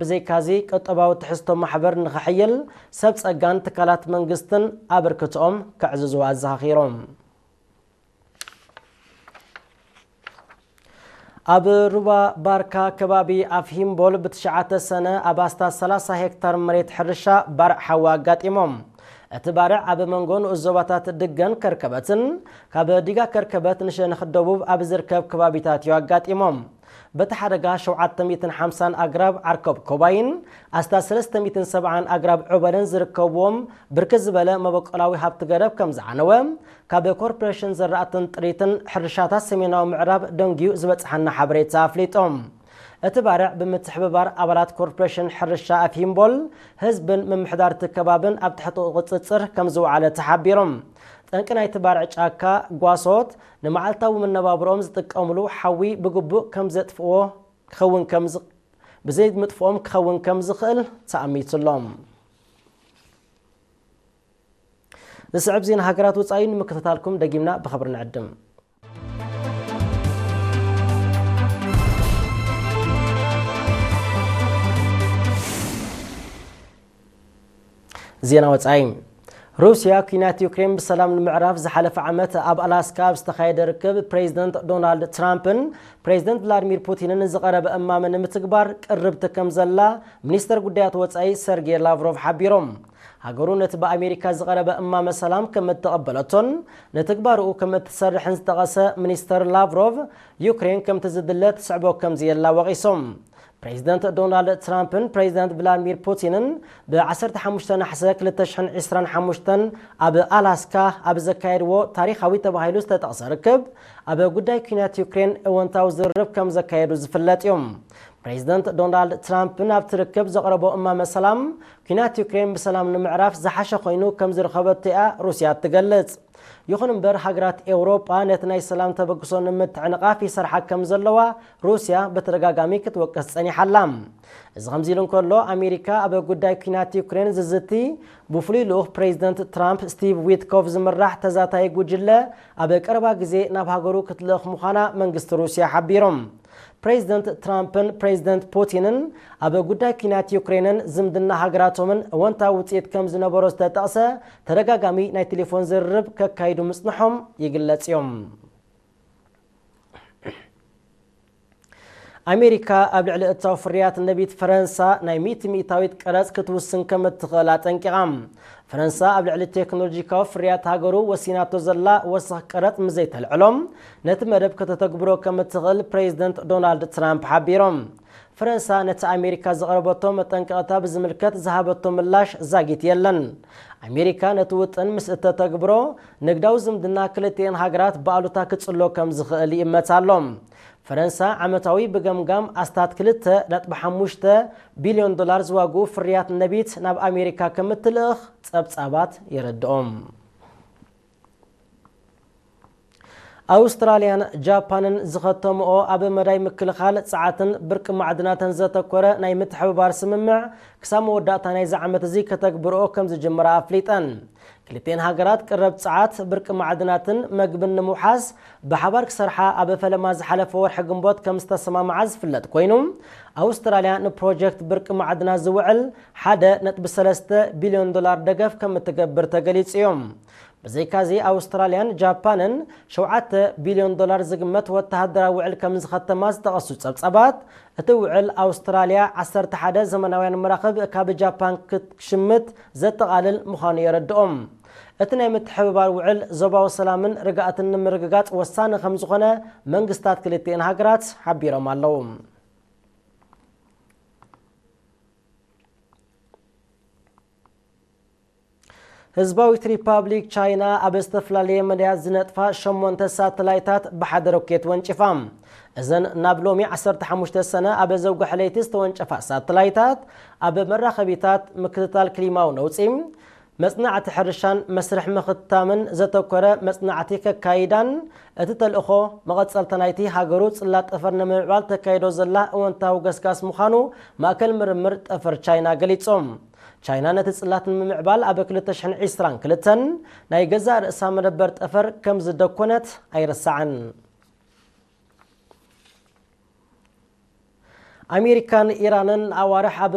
ብዘይካዚ፣ ቁጠባዊ ትሕዝቶ ማሕበር ንኽሕይል ሰብ ጸጋን ትካላት መንግስትን ኣበርክትኦም ከዕዝዙ ኣዘኻኺሮም። ኣብ ሩባ ባርካ ከባቢ ኣፍ ሂምቦል ብትሽዓተ ሰነ ኣብ ኣስታት ሰላሳ ሄክታር መሬት ሕርሻ ባርዕ ሓዊ ኣጋጢሞም። እቲ ባርዕ ኣብ መንጎ ንኡስ ዞባታት ድገን ከርከበትን ካብ ዲጋ ከርከበት ንሸነኽ ደቡብ ኣብ ዝርከብ ከባቢታት እዩ ኣጋጢሞም። በቲ ሓደጋ ሸውዓተ ሚእትን ሓምሳን ኣግራብ ዓርከብ ኮባይን ኣስታት ሰለስተ ሚእትን ሰብዓን ኣግራብ ዑበልን ዝርከብዎም ብርክት ዝበለ መበቆላዊ ሃብቲ ገረብ ከም ዝዓነወ ካብ ኮርፖሬሽን ዘራእትን ጥሪትን ሕርሻታት ሰሜናዊ ምዕራብ ደንጊዩ ዝበጽሓና ሓበሬታ ኣፍሊጦም። እቲ ባርዕ ብምትሕብባር ኣባላት ኮርፖሬሽን ሕርሻ ኣፍ ሂምቦል ህዝብን ምምሕዳርቲ ከባብን ኣብ ትሕቲ ቁጽጽር ከም ዝወዓለ ተሓቢሮም። ጠንቂ ናይቲ ባርዕ ጫካ ጓሶት ንመዓልታዊ መነባብሮኦም ዝጥቀምሉ ሓዊ ብግቡእ ከም ዘጥፍእዎ ክኸውን ከም ዝ-፣ ብዘይ ምጥፍኦም ክኸውን ከም ዝኽእል ተኣሚቱሎም። ዝስዕብ ዜና ሃገራት ወጻኢ ንምክትታልኩም ደጊምና ብኽብሪ ንዕድም። ዜና ወጻኢ። ሩስያ ኲናት ዩክሬን ብሰላም ንምዕራፍ ዝሓለፈ ዓመት ኣብ ኣላስካ ኣብ ዝተኻየደ ርክብ ፕሬዚደንት ዶናልድ ትራምፕን ፕሬዚደንት ቭላድሚር ፑቲንን ዝቐረበ እማመ ንምትግባር ቅርብቲ ከም ዘላ ሚኒስተር ጉዳያት ወጻኢ ሰርጌይ ላቭሮቭ ሓቢሮም። ሃገሩ ነቲ ብኣሜሪካ ዝቐረበ እማመ ሰላም ከም እተቐበለቶን ንትግባርኡ ከም እትሰርሕን ዝጠቐሰ ሚኒስተር ላቭሮቭ፣ ዩክሬን ከምቲ ዝድለ ትስዕቦ ከም ዘየላ ወቒሶም። ፕሬዚደንት ዶናልድ ትራምፕን ፕሬዚደንት ቭላድሚር ፑቲንን ብ ዓሰርተ ሓሙሽተ ነሓሰ ክልተ ሽሕን ዕስራን ሓሙሽተን ኣብ ኣላስካ ኣብ ዘካየድዎ ታሪኻዊ ተባሂሉ ዝተጠቕሰ ርክብ፣ ኣብ ጉዳይ ኲናት ዩክሬን እወንታዊ ዝርርብ ከም ዘካየዱ ዝፍለጥ እዩ። ፕሬዚደንት ዶናልድ ትራምፕ ናብቲ ርክብ ዘቕረቦ እማመ ሰላም፣ ኲናት ዩክሬን ብሰላም ንምዕራፍ ዝሓሸ ኮይኑ ከም ዝረኸበቶ እያ ሩስያ ትገልጽ። ይኹን እምበር፣ ሃገራት ኤውሮጳ ነቲ ናይ ሰላም ተበግሶ ንምትዕንቓፍ ይሰርሓ ከም ዘለዋ ሩስያ ብተደጋጋሚ ክትወቅስ ጸኒሓ ኣላ። እዚ ከምዚ ኢሉ እንከሎ፣ ኣሜሪካ ኣብ ጉዳይ ኲናት ዩክሬን ዝዝቲ ብፍሉይ ልኡኽ ፕሬዚደንት ትራምፕ ስቲቭ ዊትኮፍ ዝምራሕ ተዛታይ ጉጅለ ኣብ ቀረባ ግዜ ናብ ሃገሩ ክትልእኽ ምዃና መንግስቲ ሩስያ ሓቢሩ። ፕሬዚደንት ትራምፕን ፕሬዚደንት ፑቲንን ኣብ ጉዳይ ኲናት ዩክሬንን ዝምድና ሃገራቶምን እወንታዊ ውጽኢት ከም ዝነበሮ ዝተጠቕሰ ተደጋጋሚ ናይ ቴሌፎን ዝርርብ ከካይዱ ምጽንሖም ይግለጽ እዮም። ኣሜሪካ ኣብ ልዕሊ እታው ፍርያት ነቢት ፈረንሳ ናይ ሚእቲ ሚእታዊት ቀረጽ ክትውስን ከም እትኽእል ኣጠንቂቓ። ፈረንሳ ኣብ ልዕሊ ቴክኖሎጂካዊ ፍርያት ሃገሩ ወሲናቶ ዘላ ወሰኽ ቀረጽ ምስ ዘይተልዕሎ፣ ነቲ መደብ ከተተግብሮ ከም እትኽእል ፕሬዚደንት ዶናልድ ትራምፕ ሓቢሮም። ፈረንሳ ነቲ ኣሜሪካ ዘቕረበቶ መጠንቀቕታ ብዝምልከት ዝሃበቶ ምላሽ ዛጊት የለን። ኣሜሪካ ነቲ ውጥን ምስ እተተግብሮ፣ ንግዳዊ ዝምድና ክልቲኤን ሃገራት ብኣሉታ ክጽሎ ከም ዝኽእል ይእመት ኣሎ። ፈረንሳ ዓመታዊ ብገምጋም ኣስታት ክልተ ነጥቢ ሓሙሽተ ቢልዮን ዶላር ዝዋግኡ ፍርያት ነቢት ናብ ኣሜሪካ ከም እትልእኽ ጸብጻባት የረድኦም። ኣውስትራልያን ጃፓንን ዝኸተምኦ ኣብ መዳይ ምክልኻል ጸዓትን ብርቂ ማዕድናትን ዘተኮረ ናይ ምትሕብባር ስምምዕ ክሳብ መወዳእታ ናይዚ ዓመት እዚ ከተግብርኦ ከም ዝጅምራ ኣፍሊጠን። ክልቲኤን ሃገራት ቅረብ ጸዓት፣ ብርቂ ማዕድናትን መግብን ንምውሓስ ብሓባር ክሰርሓ ኣብ ፈለማ ዝሓለፈ ወርሒ ግንቦት ከም ዝተሰማምዓ ዝፍለጥ ኮይኑ፣ ኣውስትራልያ ንፕሮጀክት ብርቂ ማዕድናት ዝውዕል ሓደ ነጥቢ ሰለስተ ቢልዮን ዶላር ደገፍ ከም እትገብር ተገሊጹ እዩ። ብዘይካዚ ኣውስትራልያን ጃፓንን ሸውዓተ ቢልዮን ዶላር ዝግመት ወተሃደራዊ ውዕል ከም ዝኸተማ ዝጠቐሱ ጸብጻባት፣ እቲ ውዕል ኣውስትራልያ ዓሰርተ ሓደ ዘመናውያን መራኽብ ካብ ጃፓን ክትሽምት ዘጠቓልል ምዃኑ የረድኦም። እቲ ናይ ምትሕብባር ውዕል ዞባዊ ሰላምን ርግኣትን ንምርግጋጽ ወሳኒ ከም ዝኾነ መንግስታት ክልቲኤን ሃገራት ሓቢሮም ኣለዉ። ህዝባዊት ሪፓብሊክ ቻይና ኣብ ዝተፈላለየ መዳያት ዝነጥፋ ሸሞንተ ሳተላይታት ብሓደ ሮኬት ወንጭፋ። እዘን ናብ ሎሚ ዓሰርተ ሓሙሽተ ሰነ ኣብ ዘውግሐ ለይቲ ዝተወንጨፋ ሳተላይታት፣ ኣብ መራኸቢታት፣ ምክትታል ክሊማዊ ነውጺ፣ መጽናዕቲ ሕርሻን መስርሕ ምኽታምን ዘተኮረ መጽናዕቲ ከካይዳን፣ እቲ ተልእኾ መቐጸልታ ናይቲ ሃገሩ ጽላት ጠፈር ንምምዕባል ተካይዶ ዘላ እወንታዊ ገስጋስ ምዃኑ ማእከል ምርምር ጠፈር ቻይና ገሊጹ። ቻይና ነቲ ጽላት ንምምዕባል ኣብ ክልተ ሽሕን ዕስራን ክልተን ናይ ገዛእ ርእሳ መደበር ጠፈር ከም ዝደኮነት ኣይርሳዕን። ኣሜሪካን ኢራንን ኣዋርሕ ኣብ